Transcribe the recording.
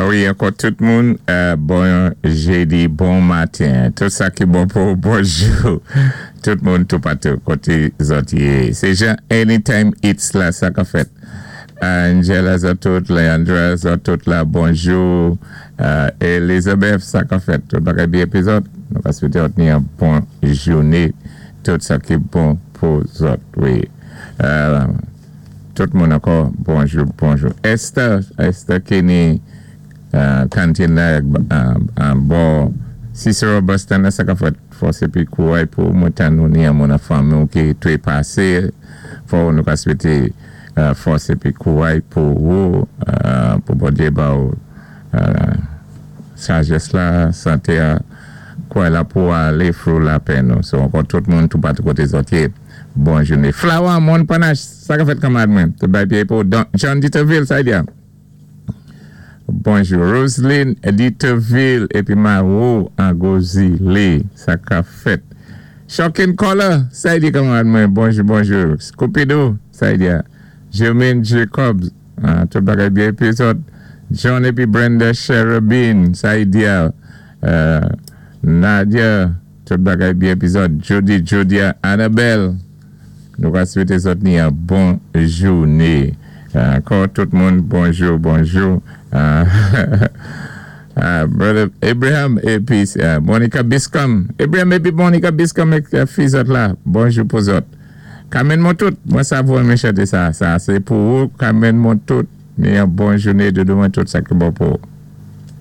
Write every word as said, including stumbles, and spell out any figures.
Wi, ankò tout moun, euh, bon jédi, bon maten. Tout sa ki bon pou bonjou. Tout moun toupatou koté zòt yé. Sé Jean Anytime It's la, sa ka fèt. Angela zòt tout, Leandra zòt tout la, bonjou. Euh, Elizabeth, sa ka fèt. Tout bagay byen pi zòt. Nou ka swété ni yon bon jouné. Tout sa ki bon pou zòt, wi. Euh, tout moun ankò, bonjou, bonjou. Esther, Esther Kenny, euh, kantin la, euh, bon, Cicero Boston, sa ka fèt, fòs épi kouway pou mwen tan nou ni yon moun an fanmi ki twépasé, fò nou ka swété euh, fòs épi kouway pou ou, euh, pou Bondyé ba ou euh, sajès la, santé a, kouway la pou alé through lapenn nou. So, ankò tout moun toupatou koté zòt yé, bon jouné. Flower, moun panache, sa ka fèt kanmad mwen, tout bay byen pou Don, John Dieterville, sa y di a. Bonjou, Roselyne Dieterville épi Maro Angozile, sa ka fèt. Shocking Color, sa y di kanmad mwen, bonjou, bonjou. Scoopidou, sa y di a. Jermaine Jacobs, ah, tout bagay byen épi zòt. John épi Brenda Cherubin, sa y di a. Euh, Nadia, tout bagay byen épi zòt. Jody, Jodia, Annabelle, nou ka swété zòt ni yon bon jouné. Ankò tout moun, bonjou, bonjou. Euh, uh, Brother Abraham épi uh, Monica Biscom. Abraham épi Monica Biscom ak uh, fi zòt la. Bonjou pou zòt. Kamen moun tout. Mwen sa vou mwen chanté sa. Sa, sé pou ou. Kamen moun tout. Ni yon bon jouné de mwen tout sa ki bon pou.